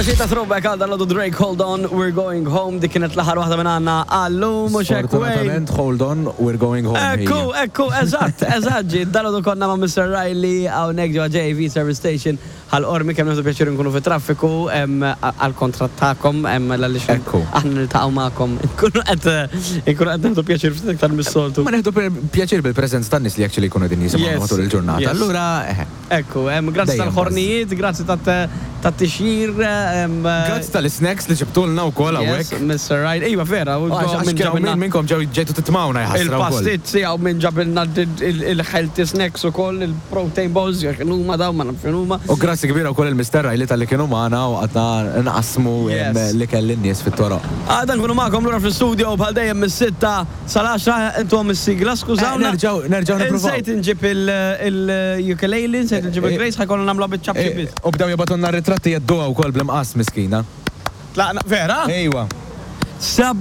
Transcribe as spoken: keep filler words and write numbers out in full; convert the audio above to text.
Xi ta' throwback għal dan Drake, "Hold On, We're Going Home". Dik kienet l-aħħar waħda minn għandna għallum, mhux hekk, Wayne? Sfortunatament, hold on, we're going home. Ekku, ekku, eżatt, eżatt, ġi, dal konna ma' Mister Riley hawnhekk ġo J V Service Station Ħal Qormi. Kemm nieħdu pjaċir nkunu fi traffiku għal kontra tagħkom, għaliex Ekku. aħna niltaqgħu magħkom. Nkunu qed nkunu qed nieħdu pjaċir ftit iktar mis-soltu. Ma nieħdu pjaċir bil-preżenza tan-nies li actually jkunu din jisimgħu Yes. matul il-ġurnata. Yes. Allura, eh, Ekku, em, grazzi Dejjem. tal-ħornijiet, grazzi tat-tixjir. Grazzi tal-snacks li ġibtulna wkoll Yes, hawnhekk. Mister Riley. Iva, vera, u Għax għax minn kienu ġabilna min minnkom ġew ġejtu titmawna jħassra wkoll. il-pastizzi, għaw minn ġabilna il-healthy snacks u koll, il-protein balls, jek huma daw, ma nafx huma. U grazzi kbira wkoll il-Mister Riley talli kienu magħna u għadna nqasmu em, Yes. li kelli n-nies fit-toroq. Għada nkunu magħkom lura fl-studio bħal dejjem mis-sitta sal-għaxra. Intu is-sigla, skużawna. Eh, nerġgħu- nerġgħu nippruvaw. Insejt inġib il-ukulele, insejt inġib il-Grace, ħa jkollna nagħmlu biċ-ċapċip Eh, biss. U bdew jibagħtulna ritratti jedduha wkoll bl-imqas miskina. Tlaqna, vera? Ejwa. Seba